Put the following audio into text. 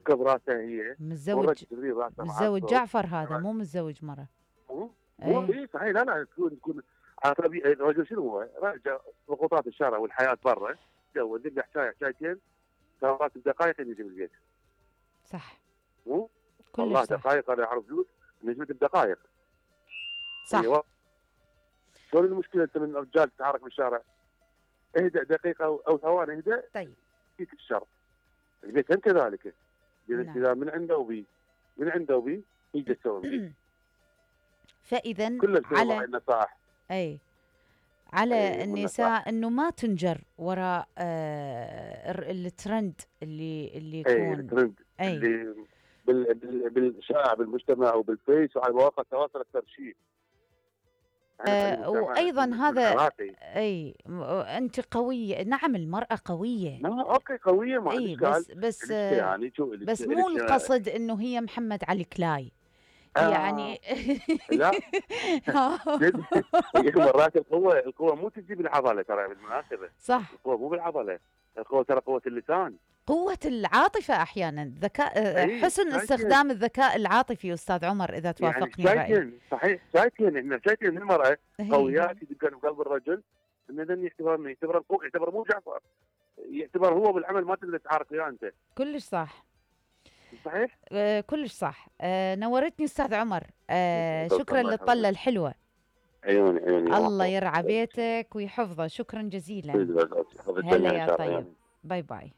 تركب راسها هي متزوج راسها متزوج جعفر هذا، مو متزوج مره. مو صحيح. لا تكون عصبي. الرجل شنو هو؟ راجع ضغوطات الشارع والحياه برا، تزوج يرجع حكايتين ساعات بدقائق يجي بالبيت. صح. مو كلش صح. دقائق انا اعرف فلوس نجمه بدقائق. صح. ايوه. شلون المشكله انت من رجال تتحرك بالشارع؟ اهدأ دقيقه او ثواني، اهدأ. طيب. فيك الشر. البيت هم كذلك. نعم. اذا من عنده وبي يجي يسوي. فاذا على النصائح. على النساء انه ما تنجر وراء الترند اللي يكون. الترند اللي بالشارع بالمجتمع وبالفيس وعلى مواقع التواصل اكثر شيء. وايضا هذا انت قويه. نعم المراه قويه. اوكي قويه ما عندي اشكال. بس يعني بس مو القصد انه هي محمد علي كلاي. يعني لا مرات القوه مو تجي بالعضله ترى بالمناسبه. صح. القوه مو بالعضله، القوه ترى قوه اللسان، قوة العاطفة أحيانا، ذكاء، حسن استخدام الذكاء العاطفي أستاذ عمر إذا توافقني الرأي. صحيح. شايفين احنا شايفين المرأة قويات يدقن بقلب الرجل، إذا يعتبر القوة، يعتبر مو جعفر، يعتبر هو بالعمل ما تقدر تحارك وياه أنت. كلش صح. صحيح. كلش صح. نورتني أستاذ عمر. شكرا للطلة الحلوة. عيوني الله يرعى بيتك ويحفظه. شكرا جزيلا. هلا يا طيب. باي باي.